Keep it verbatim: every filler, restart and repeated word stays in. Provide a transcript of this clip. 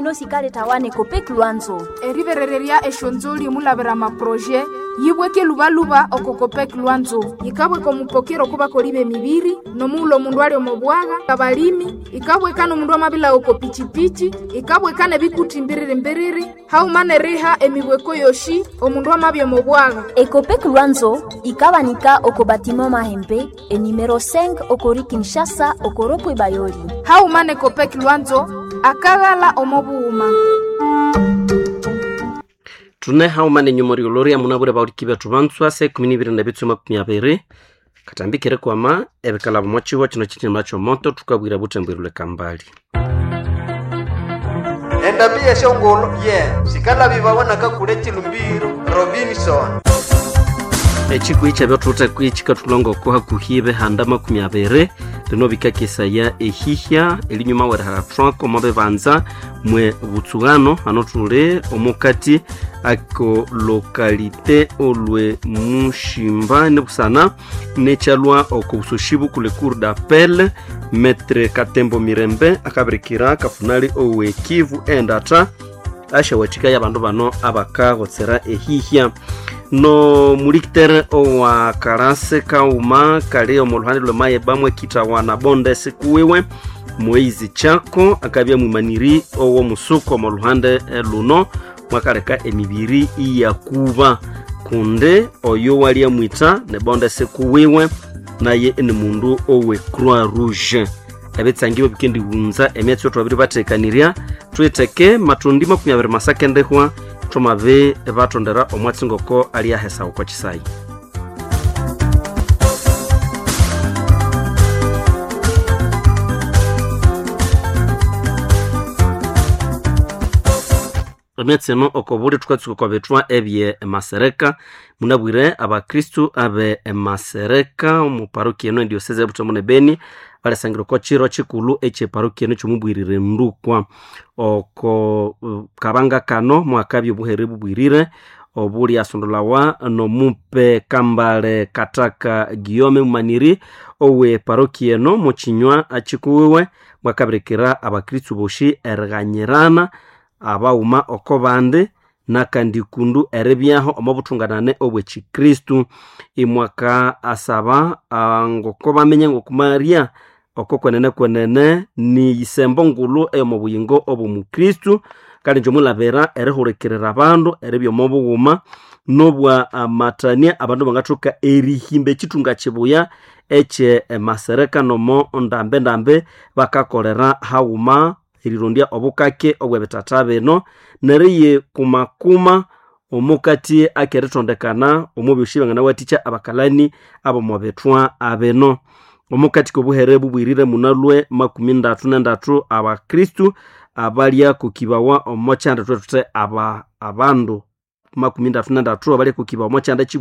sino sikaletawa n'Ecopec Lwanzo. Eriberererya esyonzoli omulabira amaproje yibweke lubaluba oko Copec Lwanzo. Yikabweka omupokero okubakoli b'emibiri n'omughulhu omundu ali omo bwagha, abalimi, ikabweka n'omundu amabilha oko pichipichi, ikabweka n'ebikuti mbiriri-mbiriri, haghuma n'eriha emibweko yoshi omundu amabya omo bwagha. Ecopec Lwanzo ikabanika oko batiment Mahembe enumero cinq okori Kinshasa okoropwe Bayoli. Haghuma n'Ecopec Lwanzo akaghala omo bughuma. Tune hauma nenyuma rioloria munabure bauriki bethu bantswa se ikumi nibiri na bitsu makumi abiri katambikire kwama ebikalabo mochiwa kino chinyama chomoto tukabwira butembo kambali. Endambi yeshongolo ye sikalabibawa nakakule chilumbiro Robinson. Echikwi kyabyo kwi chikatulonga oko hakuhi ebihanda makumi abiri bino bikakesaya ehihya elinyuma weriharathwako omo bibanza mwe butsughano hano thuli omukati ako lokalite olwe mushimba nibusana nekyalwa oko busoshi bukule cour d'appel Maître Katembo Mirembe akabirikira kafunali owe Kivu endatha ashawathika y'abandu bano abakagotsera ehihya no mulikitere owa karase kauma kali omu luhande lw'emayeba mwekithawa bonde sikuwiwe Moizi Chako akabya mwimaniri ow'omusuku omu luhande luno mwakaleka emibiri iyakuba kundi oyo walya mwitha ne bonde sikuwiwe naye ni mundu owe Croix Rouge. Ebitsangibo bikendighunza emyatsi yothu babiri bathekanirya thwitheke matundi makumi abiri masakendehwa thomabe batondera omwatsi ngoko aliahesa okwa chisayi. Emyatsi eno okobuli thukatsuka okwa bithwa ebye masereka munabwire abakristu abe masereka omu parokia eno endioseze ebutembo ne Beni balesangira oko chiro chikulu ekyeparokia eno kyomubwirire ndukwa oko kabanga kano mwakabya obuhere bubwirire obuli asondolawa nomupe Kambale Kataka Guillaume Mumaniri owe parokia eno muchinywa achikuwiwe mwakabirikira abakristu boshi erighanyirana abaghuma oko bandi nakandi kundu eribyaho omo buthunganane obw'ekikristu. Imwaka asaba ngoko bamenye ngokumarya oko kwenene kwenene ni yisembo ngulu eyomo buyingo obw'omukristu kandi njomulabira erihurikirira abandu eribya omo bughuma nobwa amatania abandu bangathoka erihimba ekithunga kibuya ekye masereka nomo ndambe ndambe bakakolera haghuma erirondya obukake obw'ebitata bino neriye kumakuma omukati akerithondekana omu byosi banganawathikya abakalani ab'omu bithwa abino. Omukati k'obuhere bubwirire munalwe makumi ndathu nendathu abakristu abalya kukibawa omo kyanda thwethuthi aba abandu makumi ndathu nendathu abalya kukibawa omo kyanda kibwirire.